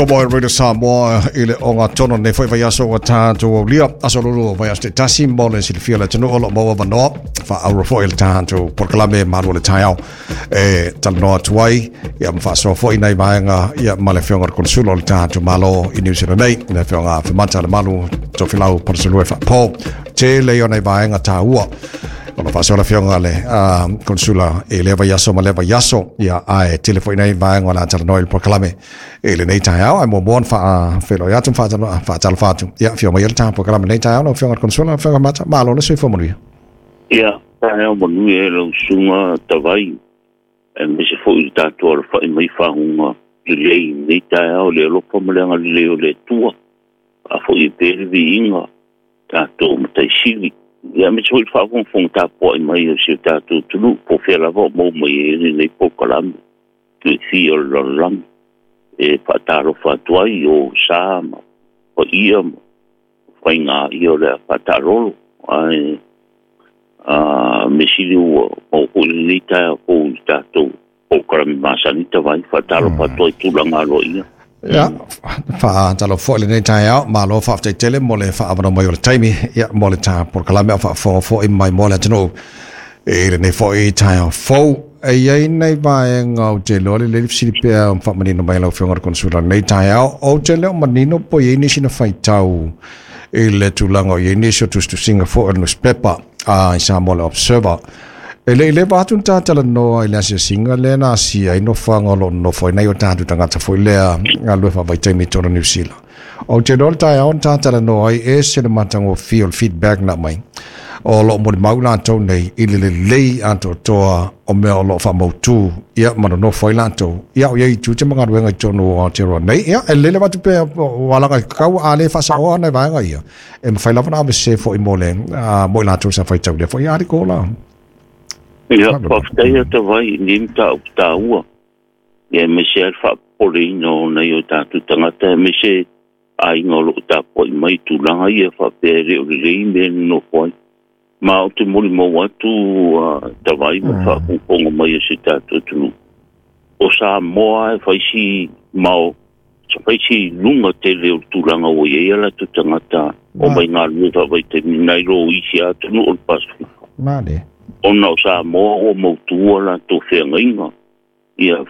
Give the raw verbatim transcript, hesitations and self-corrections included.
Tomo e Radio Samoa i le o ngā tono nei foi vai aso ua tātou aulia. Aso lulu vai aso te tasi mo le silafia le atunuu o loo maua avanoa faauro foi le tatou polokalame malu o le taeao e talanoa atu ai ia ma faasoa foi nai vaega ia ma le afioga o le Konesula o le tatou Malo i New Zealand nei, le afioga Afemata Lemalu Tofilau Palusalua Faapo. Tele ia o nai vaega taua ona faasoa le afioga le Konesula i lea vaiaso ma lea vaiaso ia, ae tele foi nei vaega o le a talanoa i le polokalame i lenei taeao. Ae muamua ona faafeiloai atu ma faatalofa atu ia afio mai le tatou polokalame lenei taeao lau afioga le Konesula, afioga Mata, malo le soifua manuia. Ia, taeao manuia e lau susuga Tavai, aemaise foi le tatou alafai mai faguga lelei lenei taeao, le alofa ma le agalelei o le Atua. Faafoi e pea le viiga tatou mataisili. Ia, aemaise foi le faafogafoga tapuai mai o si o tatou atunuu po o fea lava o maua mai ai lenei polokalame tuifia o le lalolagi. E faatalofa atu ai o sa ma paia ma faiga ia o le a faataalolo. Ae a me sili ua maua foi lenei taeao fou i le tatou polokalame masani Tavai. Faatalofa atu ai tulaga aloaia. Ia, faatalofa foi lenei taeao, malo faafetai tele mo le faaavanoa mai o le taimi ia mo le ta polokalame o faafofoga foi mai mo le atunuu i lenei foi taeao fou. E iai nai vaega ou te iloa lelei le fesili pea faamanino mai lau afioga le Konesula lenei taeao. Ou te le o manino po i ai nisi na faitau i le tulaga o i ai nisi o tusitusiga foi o le newspaper a i Samoa le Observer. E le i leva atu na tatalanoa i le asiasiga lea na asia ai nofoaga o loo nonofo ai nai o tatou tagata foi lea galue faavaitaimi i totonu o Niu Sila. Ou te iloa le taeao na tatalanoa ai ese le matagofie o le feedback na aumai o loo molimau latou nei i le lelei atoatoa o mea o loo faamautu ia ma nonofo ai latou ia o iai tiute ma galuega i totonu o Aotearoa nei. Ia e lelei lava atu pea o alaga kau a le faasaoa nai vaega ia e mafai lava ona avese foi mo le mo i latou sa faitaulia foi article la. Ia, faafetai a Tavai i lenei mataupu taua. Ia, aemaise ai le faapopoleina o nai o tatou tagata, aemaise aiga o loo tapuai mai tulaga ia faapea e le o lelei mea e nonofo ai. Ma ou te molimau atu Tavai ma le faafogafoga mai o si tatou atunuu. O Samoa e fai si mao, fai si luga tele o le tulaga ua i ai a latou tagata o mai galulue faavaitaimi nai lo isi atunuu o le Pasefika. Male. Ona o Samoa ua mautu a latou feagaiga. Ia